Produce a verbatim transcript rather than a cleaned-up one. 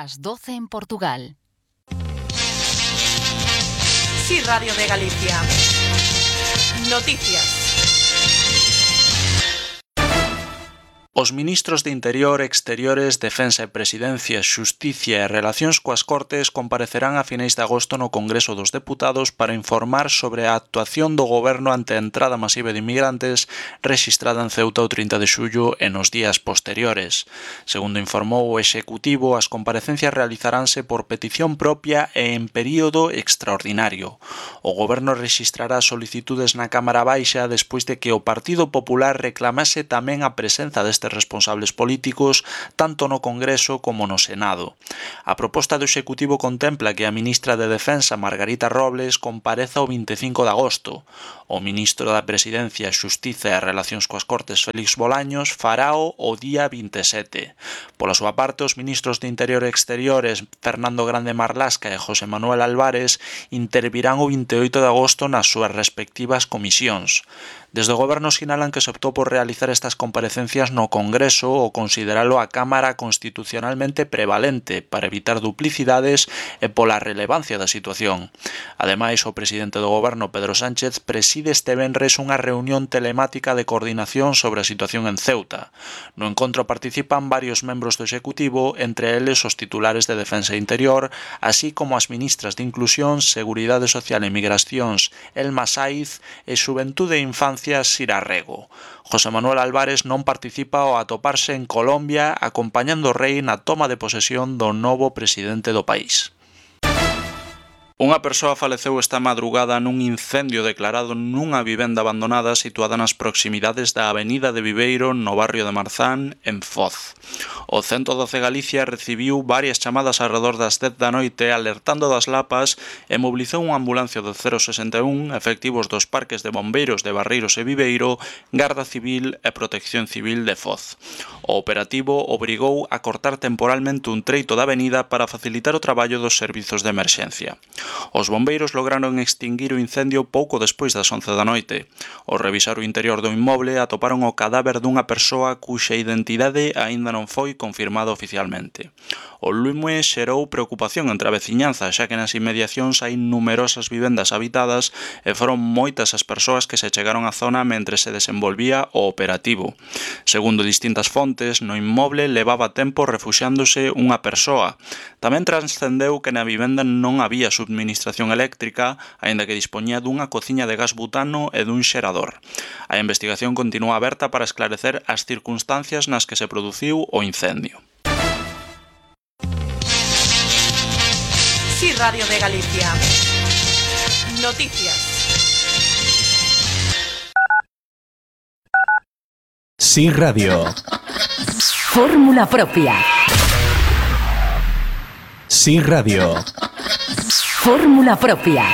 Las doce en Portugal. Sí, Radio de Galicia. Noticias. Os ministros de Interior, Exteriores, Defensa e Presidencia, Xusticia e Relacións coas Cortes comparecerán a finais de agosto no Congreso dos Deputados para informar sobre a actuación do Goberno ante a entrada masiva de inmigrantes rexistrada en Ceuta o trinta de xullo e nos días posteriores. Segundo informou o Executivo, as comparecencias realizaránse por petición propia e en período extraordinario. O Goberno rexistrará solicitudes na Cámara Baixa despois de que o Partido Popular reclamase tamén a presenza deste responsables políticos tanto no Congreso como no Senado. A proposta do Executivo contempla que a ministra de Defensa, Margarita Robles, compareza o vinte e cinco de agosto. O ministro da Presidencia, Xustiza e Relacións coas Cortes, Félix Bolaños, farao o día vinte e sete. Pola súa parte, os ministros de Interior e Exteriores, Fernando Grande Marlasca e José Manuel Álvarez, intervirán o vinte e oito de agosto nas súas respectivas comisións. Desde o Goberno sinalan que se optou por realizar estas comparecencias no Congreso ou consideralo a Cámara constitucionalmente prevalente para evitar duplicidades e pola relevancia da situación. Ademais, o presidente do Goberno, Pedro Sánchez, preside este venres unha reunión telemática de coordinación sobre a situación en Ceuta. No encontro participan varios membros do Executivo, entre eles os titulares de Defensa e Interior, así como as ministras de Inclusión, Seguridade Social e Migracións, Elma Saiz, e Xuventude e Infancia, Sira Rego. José Manuel Álvarez non participa ao atoparse en Colombia acompañando o rei na toma de posesión do novo presidente do país. Unha persoa faleceu esta madrugada nun incendio declarado nunha vivenda abandonada situada nas proximidades da Avenida de Viveiro no barrio de Marzán, en Foz. O ciento doce Galicia recibiu varias chamadas alrededor das dez da noite alertando das lapas e mobilizou unha ambulancia do cero sesenta e un, efectivos dos parques de bombeiros de Barreiros e Viveiro, Garda Civil e Protección Civil de Foz. O operativo obrigou a cortar temporalmente un treito da avenida para facilitar o traballo dos servizos de emerxencia. Os bombeiros lograron extinguir o incendio pouco despois das once da noite. Ao revisar o interior do inmoble atoparon o cadáver dunha persoa cuxa identidade aínda non foi confirmada oficialmente. O lume xerou preocupación entre a veciñanza, xa que nas inmediacións hai numerosas vivendas habitadas e foron moitas as persoas que se chegaron á zona mentre se desenvolvía o operativo. Segundo distintas fontes, no inmoble levaba tempo refuxiándose unha persoa. Tamén transcendeu que na vivenda non había subministración eléctrica, aínda que dispoñía dunha cociña de gas butano e dun xerador. A investigación continúa aberta para esclarecer as circunstancias nas que se produciu o incendio. Sí, Radio de Galicia. Noticias. Sí, Radio. Fórmula propia. Sí, Radio. Fórmula propia.